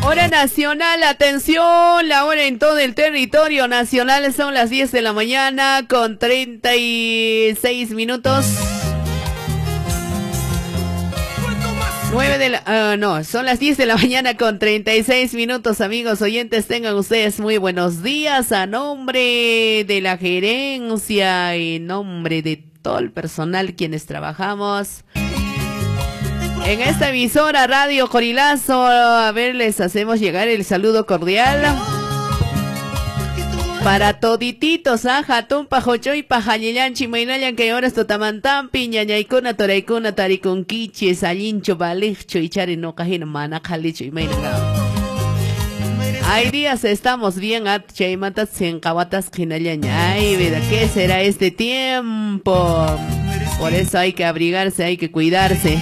Hora nacional, atención, la hora en todo el territorio nacional son las 10 de la mañana con 36 minutos. 9 de la, no, son las 10 de la mañana con 36 minutos, amigos oyentes, tengan ustedes muy buenos días a nombre de la gerencia, en nombre de todo el personal quienes trabajamos en esta emisora Radio Corilazo. A ver, les hacemos llegar el saludo cordial para todititos, tumpa, jochoy, pajañillanchi, maynallan kay horas tutamantampi, ñañaykuna, toraykuna, tarikunkichis, allincho, balijcho, ichari noqa hina mana qhalichu, imayna. Hay días estamos bien, chaymanta sinqawatas hinallaña. Ay, vida, ¿qué será este tiempo? Por eso hay que abrigarse, hay que cuidarse.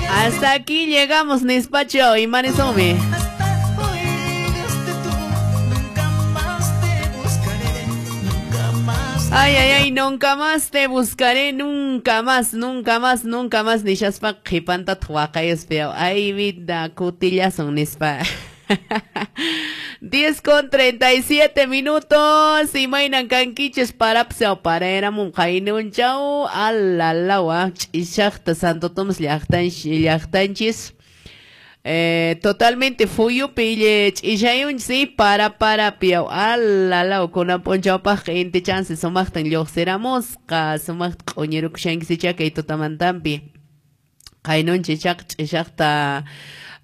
Hasta aquí llegamos, Nispacho y Marisome. Ay, ay, ay, nunca más te buscaré, nunca más, nunca más, nunca más, nishaspa qhipanta waqayuspi. Ay, vida, kutillasun nispa. 10 con 37 minutos. Imaynan kankichis parapsa paraeramun qaynunchaw alalawa ch'ishaqta Santo Tomás llaqtanchis. Totalmente fuyupi ch'ishayunchis para piaw alalaw kunan p'unchawpaqqa inti chance sumaqtan lluqsiramusqa sumaqta q'uñirukushankichis kay tutamantampi qaynunchis chaq ch'ishaqta.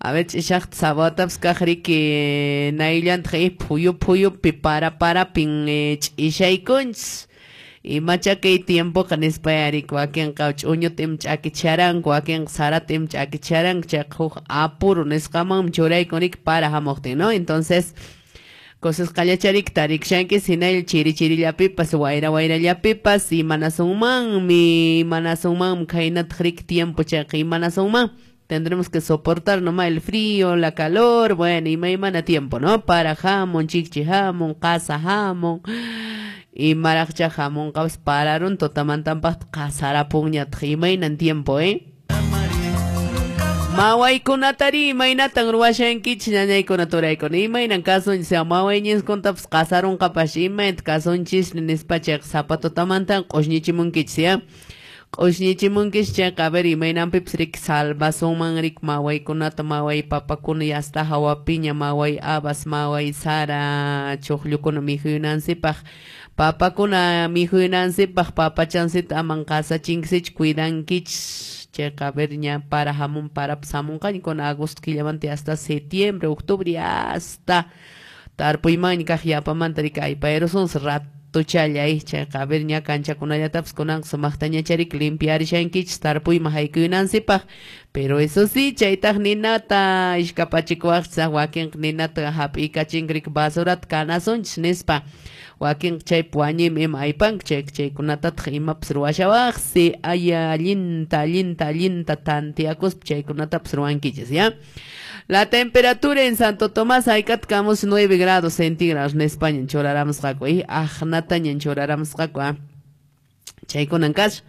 A ver, ch'ishaqta sabatapas kaq riki nayllantaq phuyu phuyupi para parapin ch'ishaykunchis. Imacha kay tiempoqa nispa riki wakinqa ch'uñuta ima ch'akicharanku, wakinqa sarata ima ch'akicharanku, chayqa huk apuro nisqamanmi churaykun riki para hamuqtin, ¿no? Entonces, cosas qallachariki tarikushankichis hinalla chiri chirillapipas, wayra wayrallapipas, imanasunmanmi, imanasunmanmi khaynataq riki tiempo chayqa imanasunman. Tendremos que soportar nomás el frío, la calor, bueno, y maymana tiempo, ¿no? Para jamón, chiqchi jamón, casa jamón, y maraqcha jamón, qapas pararun, tutamantampaq qasarapunñataq, imaynan tiempo, ¿eh? Mawaykunatari imaynatan ruwashankichis ñañaykuna turaykuna, imaynan kasunchis, mawayñiskuntapas qasarunqapas, imaynata kasunchis nispa chayqa zapatutamantan q'ushñichimunkichis, ¿ya? Q'ushñichimunkichis chayqa, a ver, imaynanpipas riki salvasunman riki mawaykunata, maway papakuna yasta hawapiña, maway habas, maway sara, chuqllukuna mikhuyunansipaq, papakuna mikhuyunansipaq, papachansita aman qasachinkisichu, cuidankichis chayqa, a ver, ña para hamun, parapas hamunqaña kuna agosto killamanta hasta septiembre, octubre, hasta tarpuymanña kaq yapamanta riki aypayrusunsi rato tuchallay chayqa, a ver, ña kanchakunallatapas kunanqa sumaqtañachariki limpiarishankichis tarpuyman haykuyunansipaq. Pero eso sí, chaytaq ninata ishkapachikuwaqchis, wakinqa ninata hap'iykachinki riki basurata kanasunchis nispa, wakinqa chaypi wañuymi ima aypanku, chayqa chaykunatataq imapas ruwashawaqsi, ay allinta, allinta, allinta tantiakuspa chaykunatapas ruwankichis, ¿ya? La temperatura en Santo Tomás hayk'atkamus 9 grados centígrados nispaña churaramusqaku, aqnataña churaramusqaku, chaykunan kasha.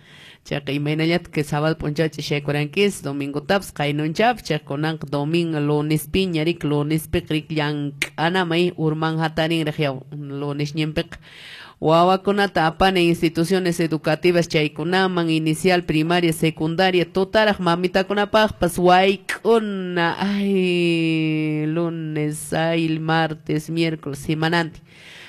Chayqa imaynallata que sábado p'unchaw ch'ishaykurankichis, domingotapas qaynunchawpas, chayqa kunanqa domingo lunespiña riki, lunespiqa riki llank'anamay urman hatarinraq yaw lunesñinpiqa. Wawakunata apana instituciones educativas chaykunaman, inicial, primaria, secundaria, tutaraq mamitakunapaqpas wayk'una, ay, lunes, ay, martes, miércoles, semananti.